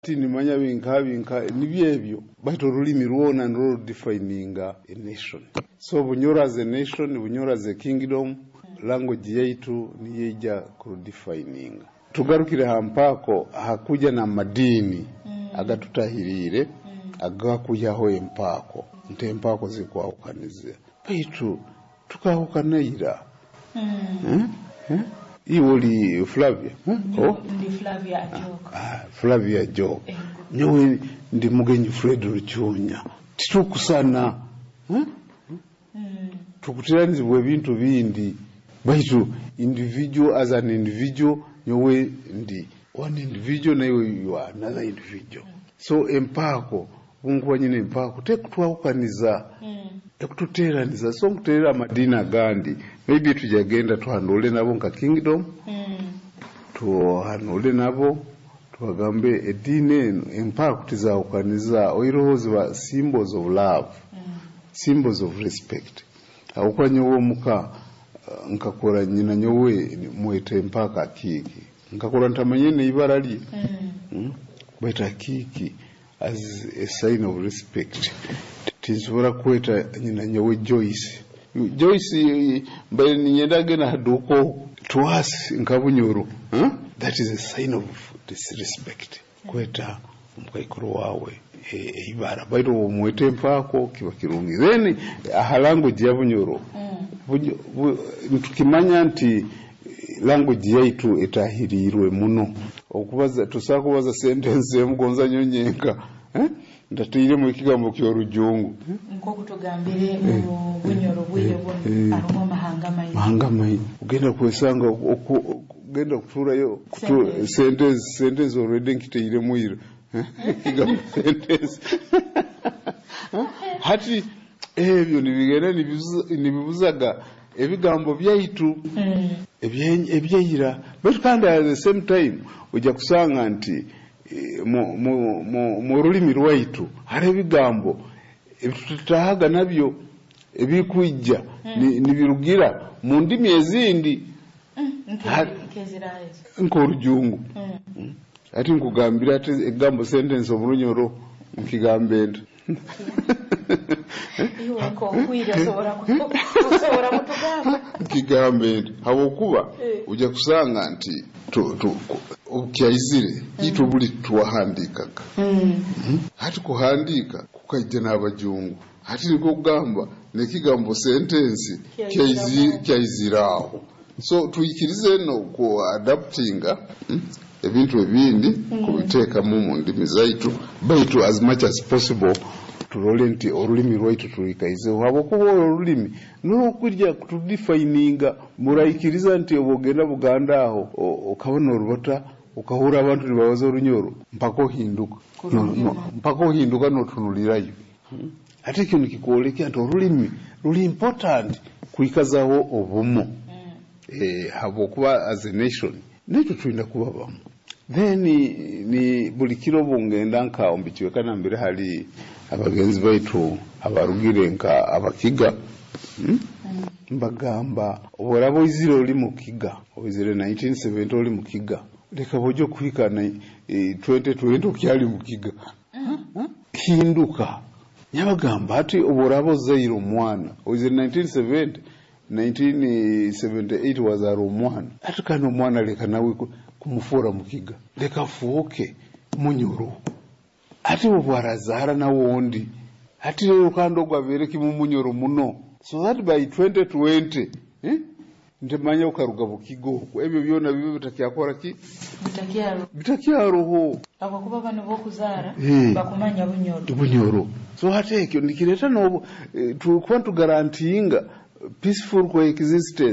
Tinimanya binka binka nibyo ebyo, baitu orulimi rwona nirwo rudefininga a nation. So Bunyoro as a nation, Bunyoro as a kingdom, language yaitu niyo ija kurudefininga. Tugarukire ha mpaako hakuja n'amadiini agatutahiriire agakwihaho empaako, nti empaako zikwahukaniza, baitu tukahukana ira. Eh? Iwe oli Flavia, eh? Oh? Ndi Flavia Ajok. Ah, Flavia Ajok. Nyowe ndi Mugenyi Fred Rucunya. Titukusana, eh? Tukuteranizibwa ebintu bindi, baitu individual as an individual, nyowe ndi one individual, naiwe you are another individual. So empaako, bunkuba nyine empaako tekutwahukaniza, ekututeraniza. So nkuterera amadiini agandi, maybe tujagenda tuhanule nabo nka kingdom, tuhanule nabo, tubagambe ediini eno empaako tizahukaniza, oiroho ziba symbols of love, symbols of respect. Ahabwokuba nyowe omuka nkakora nyina nyowe mweta empaaka Akiiki, nkakora ntamanye n'ibara lye, Baitu Akiiki as a sign of respect. Tinsobora kweta nyina nyowe Joyce. Joyce mbaire ninyenda agenda haduuka oku to us nka Bunyoro, huh? That is a sign of disrespect, kweta omukaikuru wawe eibara, baitu omweta empaako kiba kirungi. Then aha language ya Bunyoro, nitukimanya nti language yaitu etahiriirwe muno. Okubaza, tusobola kubaza sentence emu, gonza nyonyenka, eh? Ntatairemu ekigambo ky'orujungu. Nk'oku tugambire, mu Bunyoro bwire buno harimu amahanga maingi. Mahanga maingi, ogenda kwesanga ogenda kuturayo sentence, sentence already nkitairemu ira ekigambo sentence. Hati ebyo nibigenda nibibuzaga ebigambo byaitu ebyeira. Baitu kandi at the same time ojja kusanga nti mu rulimi rwaitu hari ebigambo ebitutahaga nabyo ebikwijja nibirugira mu ndimi ezindi. Nkezirayo? Nk'orujungu. Ati nkugambira ati ekigambo sentence omurunyoro nkigambe nti? Iwe nkokwire osobora kutugamba. Nkigambe nti? Habwokuba ojja kusanga nti obukyaizire itwe buli twahandikaga. Hati kuhandika kukaija n'abajungu, hati nikwo kugamba n'ekigambo sentence kyaizire aho. So tuyikirize no ku adaptinga ebintu ebindi kubiteekamu mu ndimi zaitu, baitu as much as possible turole nti orulimi rwaitu turikaizeho, habwokuba orwo orulimi nurwokwija kutudefininga. Muraikiriza nti oba ogenda Buganda aho okabona orubata, ukahura abantu nibabaza orunyoro, mpaka ohinduka. No, mpaka ohinduka notunulirayo. Ate ekyo nikikwolekya nti orulimi ruli important kwikazaho obumo, habwokuba as a nation naitwe tulina kuba bamu. Then ni buli kiro bungenda nka omu bicweka nambere hali abagenzi baitu abarugire nka Abakiga, Mbagamba, oboraba oizire oli mukiga, oizire 1970 oli mukiga, leka bwojja okuhika 2020 okyali mukiga. Hinduka. Nyabagamba ati oboraba ozaire omwana oizire 1970, 1978 wazaara omwana, ati kandi omwana leka nawe kumufuura mukiga, leka afuuke Munyoro. Ati obwarazaara nawe ondi, ati rero kandi ogwo abeere kimu Munyoro muno, so that by 2020, eh? Ntimanya ukaruga Bukiga okwo, ebyo byona bibe bitakyakora ki? Bitakyaro. Bitakyaroho. Abakuba bano bokuzaara bakumanya Bunyoro. Bunyoro. So hati ekyo nikireta nobu tukuba tugarantinga peaceful coexistence.